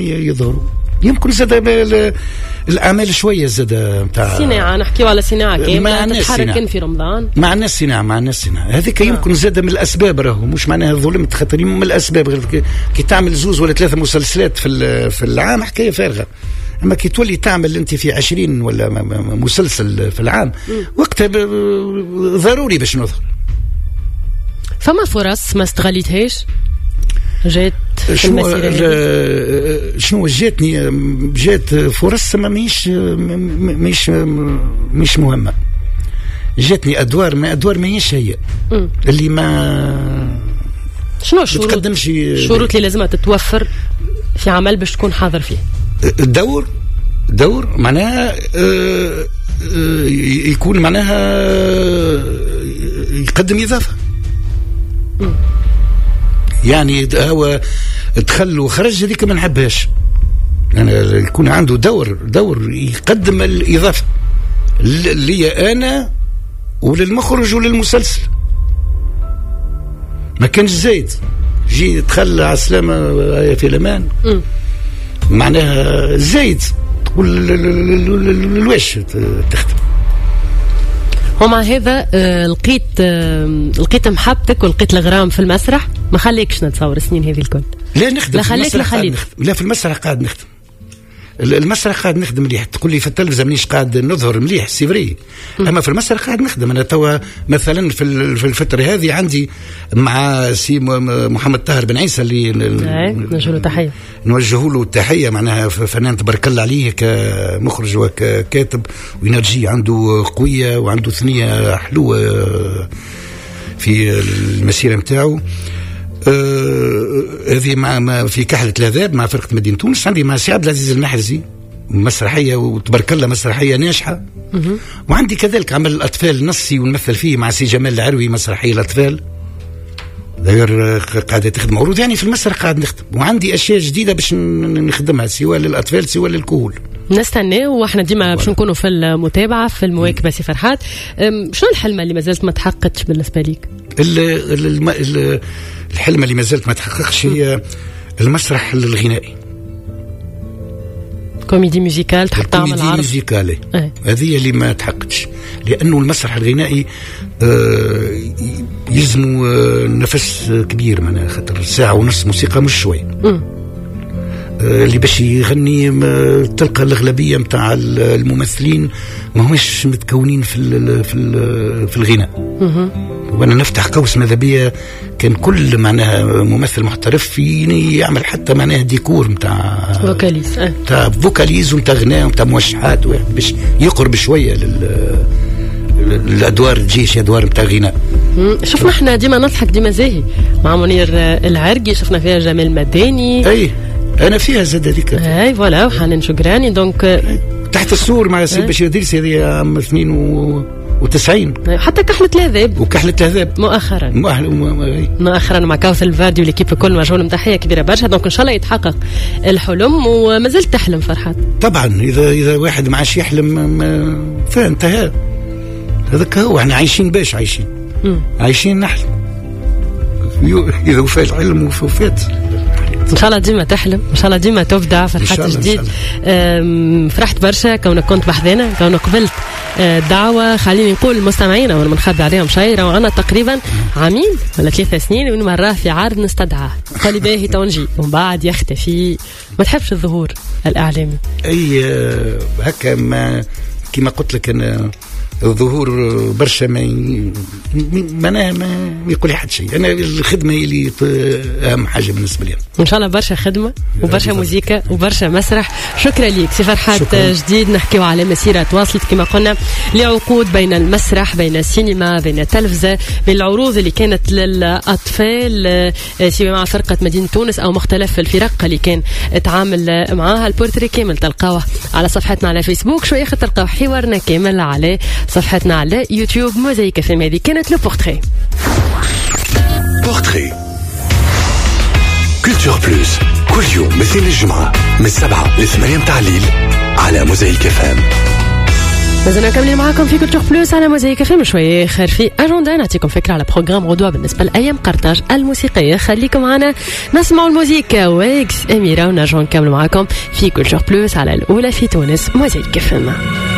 يظهروا. يمكن زاد الاعمال شوية زاد نتاع صناعة، نحكيو على صناعة كاملة تتحرك كان في رمضان. مع الناس صناعة، مع الناس صناعة هذيك. يمكن زاد من الاسباب، راهو مش معناها ظلمت، خاطر من الاسباب غير كي تعمل زوز ولا ثلاثة مسلسلات في العام حكاية فارغة، اما كي تولي تعمل انت في 20 ولا مسلسل في العام وقتها ضروري باش نظهر. فما فرص ما استغليتهاش جات في المسيرة؟ شنو جاتني؟ جات فرص ما مش مهمة. جاتني ادوار، ما ادوار ماهيش هي اللي ما شنو الشروط؟ الشروط اللي لازمها تتوفر في عمل باش تكون حاضر فيه؟ الدور، دور معناها يكون معناها يقدم إضافة. يعني هو دخل وخرج هذيك ما نحبهاش. يعني يكون عنده دور يقدم الإضافة لي أنا وللمخرج وللمسلسل. ما كانش زايد جي دخل على السلامة في الأمان، معناها زايد تقول الواش تخدم. ومع هذا لقيت محبتك ولقيت الغرام في المسرح، ما خليكش نتصور السنين هذه الكل. لا نخدم، لا خليك، لا خليك، لا في المسرح قاعد نخدم. المسرح قاعد نخدم مليح. تقول لي في التلفزة مانيش قاعد نظهر مليح، c'est vrai، اما في المسرح قاعد نخدم. انا توا مثلا في الفترة هذه عندي مع سي محمد طاهر بن عيسى اللي نوجه له تحية، نوجه له التحية، معناها فنان تبارك الله عليه كمخرج وككاتب، و énergie عنده قوية وعنده ثنيه حلوة في المسيرة نتاعو. هذه مع في كحلة العذاب مع فرقة مدينة تونس. عندي مع سي عبد العزيز المحرزي مسرحية وتبارك الله مسرحية ناجحة. وعندي كذلك عمل الأطفال نصي ونمثل فيه مع سي جمال العروي مسرحية الأطفال، غير قاعدة تخدم عروض. يعني في المسرح قاعد نخدم، وعندي أشياء جديدة باش نخدمها سواء للأطفال سواء للكهول. نستنى واحنا ديما باش نكونوا في المتابعة في المواكبة. سي فرحات، شنو الحلمة اللي مازالت ما تحققتش بالنسبة ليك؟ الحلمة اللي مازالت ما تحققش هي المسرح الغنائي، comédie musicale، تحب تعمل عرض comédie musicale. هذه اللي ما تحققتش، لأنه المسرح الغنائي يلزمه نفس كبير، معناها خاطر ساعة ونص موسيقى مش شوي. اللي باش يغني تلقى الأغلبية متاع الممثلين ما همش متكونين في في في الغناء. وانا نفتح قوس ماذا بيا كان كل معناها ممثل محترف يعمل حتى معناها ديكور نتاع vocalise، نتاع vocalise ونتاع غناء ونتاع موشحات، باش يقرب شوية للادوار، تجيش ادوار نتاع غناء. شفنا احنا ديما نضحك ديما زاهي مع منير العرقي، شفنا فيها جمال مداني. اي انا فيها زاد هذيك. اي voilà، وحنان شكراني donc تحت السور مع سي بشير دريس، هذه عام 92. حتى كحلة العذاب، وكحلة العذاب مؤخرا مؤخرا مع كوثر الفاردي و l'équipe الكل، مجهول تحية كبيرة برشا. donc ان شاء الله يتحقق الحلم. وما زلت تحلم فرحات؟ طبعا، اذا واحد ما عادش يحلم فانتهى. هذاك هو، احنا عايشين باش عايشين، عايشين نحلم. اذا وفات الحلم وفات. ان شاء الله ديما تحلم، ان شاء الله ديما تبدع. فرحات جديد، فرحت برشا كونك كنت بحذانا، كونك قبلت الدعوة. خليني نقول المستمعين وانا ما نخبي عليهم شيء، راهو عندنا تقريبا عامين ولا 3 سنين وين مرة في عرض نستدعاه قال لي باهي تونجي ومن بعد يختفي. ما تحبش الظهور الاعلامي؟ اي هكا، ما كما قلت لك انا الظهور برشا ما معناها ما يقول لي حد شيء. انا الخدمة هي اللي اهم حاجة بالنسبة لي. ان شاء الله برشا خدمة وبرشا موزيكا وبرشا مسرح. شكرا ليك سي فرحات جديد. نحكيو على مسيره تواصلت كما قلنا لعقود بين المسرح، بين السينما، بين التلفزة، بين العروض اللي كانت للاطفال سواء مع فرقه مدينة تونس او مختلف الفرق اللي كان تعامل معاها. البورتري كامل تلقاوه على صفحتنا على فيسبوك، شوية تلقاو حوارنا كامل على صفحتنا على يوتيوب موزايك اف ام. هذه كانت le portrait. Portrait Culture Plus كل يوم مثل الجمعة من 7 ل 8 متاع الليل على موزايك اف ام. مازلنا مكملين معاكم في Culture Plus على موزايك FM. شوية اخر في اجندا نعطيكم فكرة على programme غدوه بالنسبة لايام قرطاج الموسيقيه. خليكم معنا نسمعوا الموزيكا ويجز اميره، ونرجعوا نكملوا معاكم في Culture Plus على الاولى في تونس موزايك FM.